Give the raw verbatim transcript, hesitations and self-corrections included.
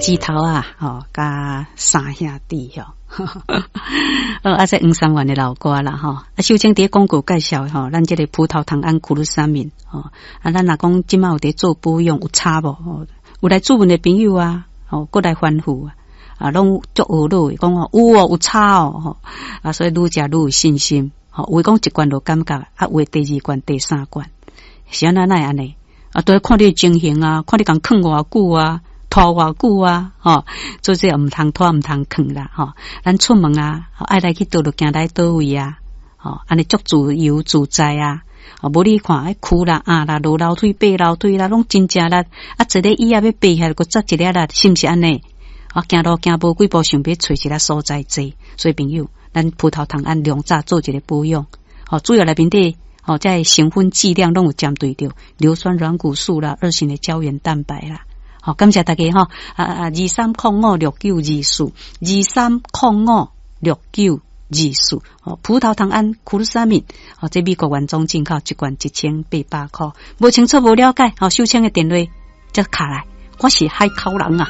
指頭仔，吼，佮三兄弟吼。呃，啊，這黃三元的老歌啦，吼。啊，秀清佇廣告介紹吼，咱這个葡萄糖胺 glucosamine 吼，啊，咱若講這馬有佇做保養有差無？吼，有來諮問的朋友啊，吼，閣來反覆啊，啊，攏足懊惱的，講哦，有哦，有差哦，吼，啊，所以愈食愈有信心，吼，有的講一罐就感覺，啊，有的第二罐、第三罐，是按怎哪會按呢？啊，都看你情形啊，看你共囥偌久啊，拖偌久啊，吼，做這毋通拖，毋通囥啦，吼。咱出門啊，愛來去佗就行來佗位啊，吼，按呢足自由自在啊。無你看，彼跍啦、壓啦、落樓梯、爬樓梯啦，攏真正力。啊，坐咧椅仔欲爬起來，閣扎一粒力，是毋是按呢？啊，行路行無幾步，想欲揣一个所在坐。所以朋友，咱葡萄糖胺良早做一个保養，吼，主要內面底，吼，這个成分劑量攏有針對著硫酸軟骨素啦、二型的膠原蛋白啦。好，感謝大家吼，啊啊，二三空五六九二四，二三空五六九二四，哦，葡萄糖胺 glucosamine，哦，這美國原裝進口一罐一千八百箍，無清楚無了解，吼，秀清的電話則敲來，我是海口人啊。